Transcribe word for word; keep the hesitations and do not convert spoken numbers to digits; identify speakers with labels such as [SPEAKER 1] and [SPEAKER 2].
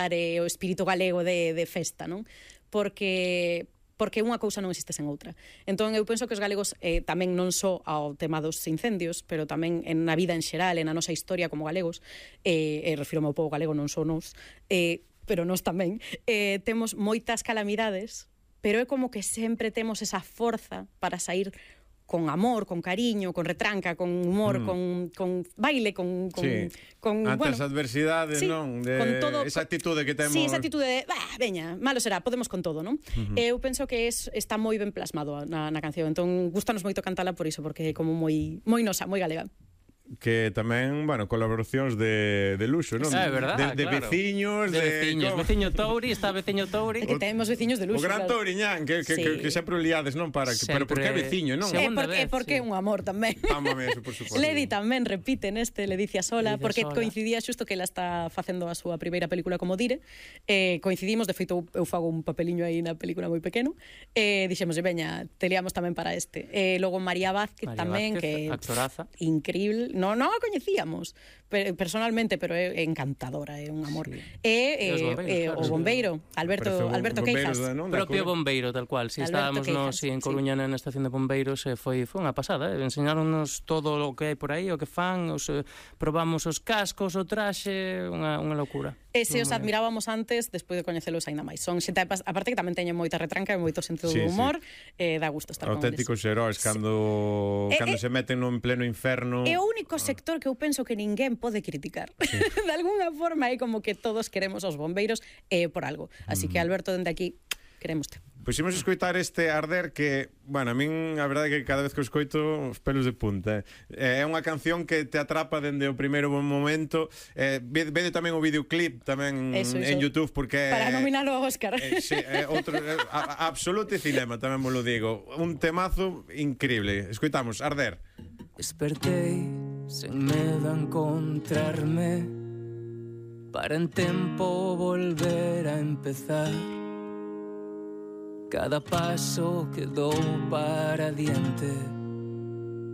[SPEAKER 1] popular e o espírito galego de, de festa, non? Porque porque unha cousa non existe sen outra. Entón, eu penso que os galegos eh, tamén non só ao tema dos incendios, pero tamén en na vida en xeral, en a nosa historia como galegos, eh, e refiro ao povo galego, non só nos, eh, pero nos tamén, eh, temos moitas calamidades, pero é como que sempre temos esa forza para sair con amor, con cariño, con retranca, con humor, mm. con, con baile, con... con,
[SPEAKER 2] sí.
[SPEAKER 1] con
[SPEAKER 2] ante
[SPEAKER 1] bueno,
[SPEAKER 2] as adversidades,
[SPEAKER 1] sí,
[SPEAKER 2] non? De
[SPEAKER 1] con todo,
[SPEAKER 2] esa actitude que temos...
[SPEAKER 1] Sí, esa actitude de, bah, veña, malo será, podemos con todo, non? Uh -huh. Eu penso que es, está moi ben plasmado na, na canción, entón gustanos moito cantala por iso, porque é como moi moi nosa, moi galega.
[SPEAKER 2] Que tamén, bueno, colaboracións de, de luxo, non?
[SPEAKER 3] É verdade,
[SPEAKER 2] de, de
[SPEAKER 3] claro.
[SPEAKER 2] veciños,
[SPEAKER 3] de...
[SPEAKER 2] de
[SPEAKER 3] veciños,
[SPEAKER 2] como...
[SPEAKER 3] veciño Touri, está veciño Touri.
[SPEAKER 1] É que temos veciños de luxo.
[SPEAKER 2] O gran
[SPEAKER 1] claro.
[SPEAKER 2] Touriñán, que, que, sí. que, que sempre o liades, non? Para, que,
[SPEAKER 3] sempre...
[SPEAKER 2] Pero porque é veciño, non?
[SPEAKER 1] É porque, vez, porque é sí. un amor tamén.
[SPEAKER 2] Ámame eso, por suposto.
[SPEAKER 1] Ledi tamén repite neste Ledicia Sola, Ledicia porque Sola. Coincidía xusto que ela está facendo a súa primeira película como Dire. Eh, coincidimos, de feito, eu fago un papeliño aí na película moi pequeno. Eh, dixemos, veña, te liamos tamén para este. Eh, logo María Vázquez María tamén,
[SPEAKER 3] Vázquez,
[SPEAKER 1] que
[SPEAKER 3] actoraza.
[SPEAKER 1] Increíble. No, non a coñecíamos personalmente, pero é encantadora, é un amor. Sí. E, e, e claro, o bombeiro, Alberto, Alberto Queijas.
[SPEAKER 3] O propio bombeiro, tal cual. Si estábamos no, si en Coruña sí. na estación de bombeiros, e foi foi unha pasada, eh? Enseñáronnos todo o que hai por aí, o que fan, os, eh, probamos os cascos, o traxe, unha, unha locura.
[SPEAKER 1] E se os admirábamos antes, despois de coñecelos aínda máis. Son xente, aparte que tamén teñen moita retranca e moito sentido
[SPEAKER 2] sí,
[SPEAKER 1] do humor,
[SPEAKER 2] sí.
[SPEAKER 1] eh, dá gusto estar
[SPEAKER 2] auténticos
[SPEAKER 1] con eles.
[SPEAKER 2] Auténticos heróis, cando,
[SPEAKER 1] sí.
[SPEAKER 2] cando
[SPEAKER 1] eh,
[SPEAKER 2] se meten no en pleno inferno.
[SPEAKER 1] É o único sector que eu penso que ninguén pode criticar. Sí. De alguna forma é como que todos queremos os bombeiros eh, por algo. Así mm. que, Alberto, dende aquí, queremoste.
[SPEAKER 2] Pois imos escoitar este Arder que, bueno, a min a verdade é que cada vez que o escoito os pelos de punta. É unha canción que te atrapa dende o primeiro momento. Eh, vede tamén o videoclip tamén eso, en eso. YouTube porque
[SPEAKER 1] para nominalo ao Óscar.
[SPEAKER 2] Eh, sí, eh, outro eh, a, a absolute cinema, tamén vos lo digo. Un temazo increíble. Escoitamos Arder.
[SPEAKER 4] Despertei sen medo a encontrarme para en tempo volver a empezar. Cada paso que dou para diante